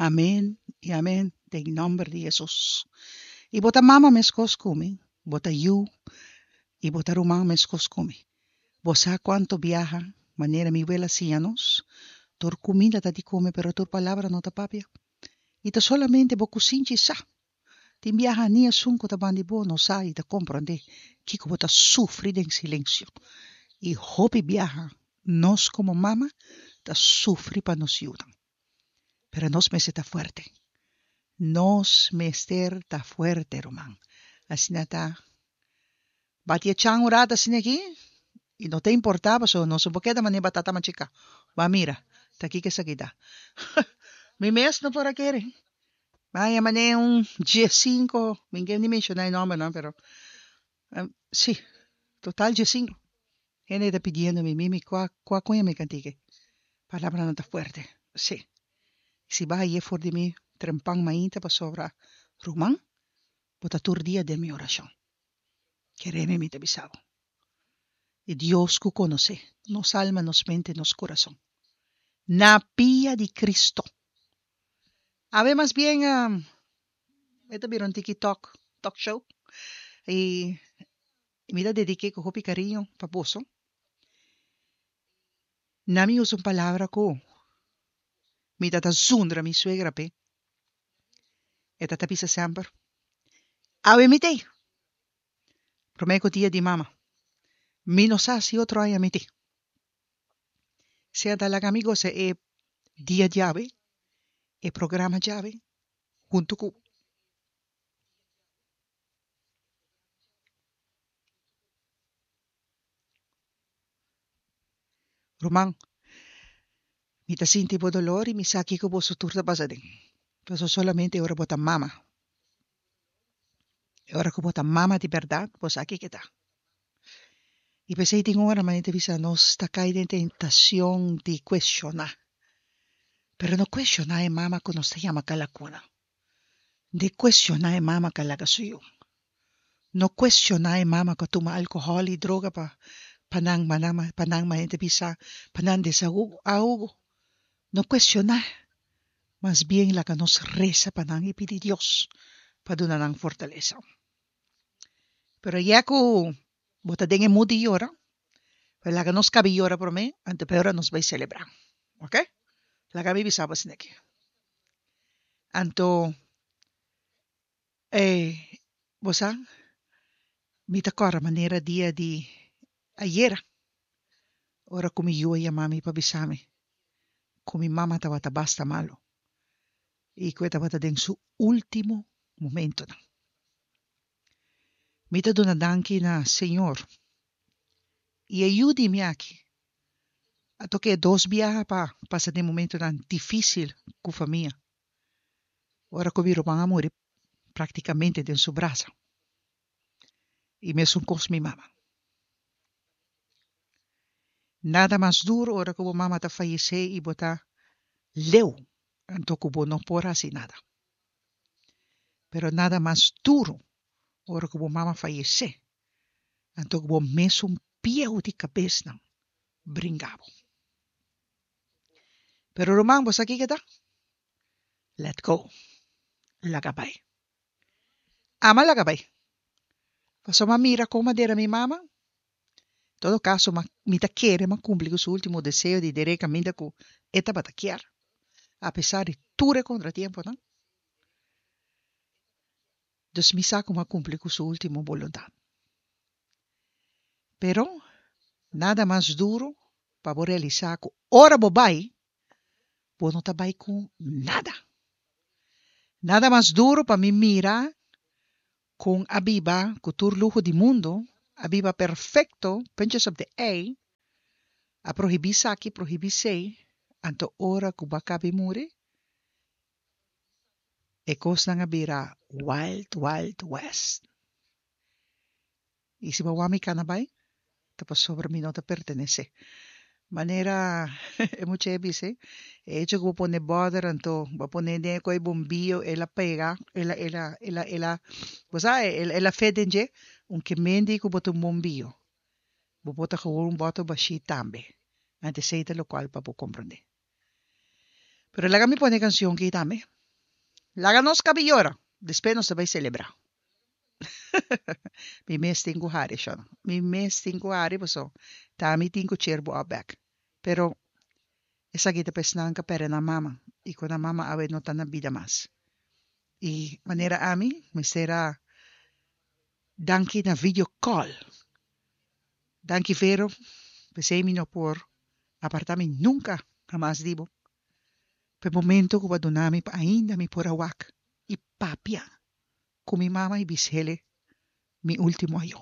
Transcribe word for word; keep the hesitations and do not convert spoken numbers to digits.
Amen i amen den nòmber di Hesus. I bo ta mama meskos ku mi, bo ta yu i bo ta ruman meskos ku mi. Bo sa kuantu biaha, manera mi wela siña nos, tur kuminda ta di kome pero tur palabra no ta papia. I ta solamente bo kusinchi sa. Tin biaha ni esun ku ta banda di bo no sa i ta komprondé kiko bo ta sufri den silensio. I hopi biaha nos komo mama ta sufri pa nos yunan. Pero nos mester ta fuerte. Nos mester ta fuerte, ruman. Asina ta. Bati e chan un rato asina aki i no ta importá pasobra nos no por keda manera batata machiká. Bo a mira, ta kiko esaki ta. Mi mes no por a kere. Baña manera un diesinko, mi no ke ni menshoná e nòmbernan, pero sí, total diesinko. Hende ta pidiendo mi, Mimi, kua kua kuña mi kantike? Palabranan ta fuerte, sí. Si bo a haye for di mi trempan mainta pasobra, ruman, bo ta tur dia den mi orashon. Kere mi, mi ta bisa bo. E Dios ku konosé nos alma, nos mente, nos kurason. Na pia di Cristo. Awe mas bien e ta bira un tiki talk, talk show. I mi ta dedik'é ku hopi kariño pa boso. Na mi usa un palabra ku mi ta ta zundra mi suegra p'e. E ta ta bisa semper, Awe mi t'ei. Promé ku dia di mama. Mi no sa si otro aña mi t'ei. Sea ta laga mi gosa e dia djawe, e programa djawe, huntu ku. Ruman, mi ta sinti bo dolor i mi sa kiko boso tur ta pasa den. Pasobra solamente e ora bo ta mama, e ora ku bo ta mama di bèrdat, bo sa kiko ta. I p'esei tin ora manera ta bisa nos ta kai den tentashon di kuestioná. Pero no kuestioná e mama ku nos ta yama kalakuna. Di kuestioná e mama ku a laga su yu. No kuestioná e mama ku a tuma alkohòl i droga pa pa nan pa nan manera ta bisa pa nan desahogo. No kuestioná, mas bien laga nos resa pa nan i pidi Dios pa duna nan fortalesa. Pero ya ku bo ta den e mood di yora, pues laga nos kabi yora promé, anto pa e ora nos bai selebrá. Ok? Laga mi bisa bo asina aki. Anto E bo sa, mi ta kòrda manera dia di ayera, ora ku mi yu a yama mi pa bisa mi ku mi mama tabata basta malu i ku e tabata den su último momentonan. Mi ta duna danki na Señor i e yu di mi aki a toka e dos biaha pa pasa den momentonan difísil ku famia. Ora ku mi ruman a muri praktikamente den su brasa. I mesun kos mi mama. Nada mas duru ora ku bo mama ta fayesé i bo ta leu anto ku bo no por hasi nada. Pero nada mas duru ora ku bo mama fayesé anto ku bo mesun pieu di kabesnan bringa bo. Pero ruman bo sa kiko ta? Let go. Laga bai. Ama laga bai. Pasobra m'a mira kon m'a dera mi mama. Todo kaso m'a mi ta kere m'a kumpli ku su ultimo deseo di der'é kaminda ku e tabata kier, apesar di tur e kontratiemponan. Dus mi sa ku m'a kumpli ku su ultimo boluntat. Pero nada mas duru pa bo realisá ku ora bo bai, bo no ta bai ku nada. Nada mas duru pa mi mira kon a biba ku tur luho di mundu, a biba perfekto, puntjes op de i, a prohibí saki, prohibí sei, anto ora ku bo a kabi muri, e kosnan a bira wild, wild west. I si bo wak mi kana bai, ta pasobra mi no ta pertenesé. Manera e mucha e bisa, e hecho ku bo pone bòder anto bo a pone den e koi bombio el a pega, el a el a el a el a bo sa el a fit den dje, un kemendi ku bo ta un bombio, bo por ta gewoon un bòter bashí tambe. Anto esei ta lokual pa bo komprondé. Pero laga mi pone kanshon aki tambe. Laga nos kaba yora. Despues nos ta bai selebrá. Mi mes tin ku hari, shon. Mi mes tin ku hari, paso. Ta mi tin ku cheer bo op bèk. Pero esaki ta pa esnan ku a pèrdè nan mama. I ku nan mama awe no ta na bida mas. I manera ami, mester a danki na video call. Danki Vero, p'esei mi no por apartá mi nunka hamas di bo. Pa e momento ku bo a duna mi pa ainda mi por a wak i papia ku mi mama i bis'é mi último ayó.